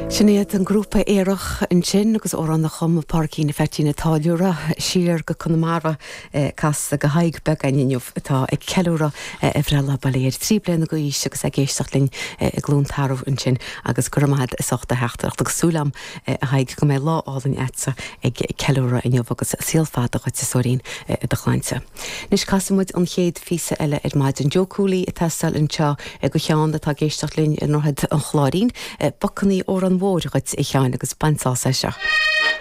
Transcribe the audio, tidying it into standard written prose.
Sin iad an grúpa Aerach ansin agus amhrán a chum Pádraicín Pheaitín an Táilliúra siar go Conamara casta do Thadhg beag againn inniu atá ag ceiliúradh a bhreithlá bail ó Dhia air 3 bliana d'aois agus ag éisteacht linn i gCluain Tarbh ansin agus go raibh maith agat as ucht do theachtaireacht agus súil agam a Thaidhg go mbeidh lá álainn a'dsa ag ceiliúradh inniu agus saol fada dhuit a stóirín i do shláinte. Anois casfaidh muid an chéad phíosa eile ar maidin. Joe Cooley ag teastáil anseo do Sheán atá ag éisteacht linn i nDroichead an Chláirín. Bacannaí Órán Mhóir dhuit a Sheáin agus bain sásamh as seo.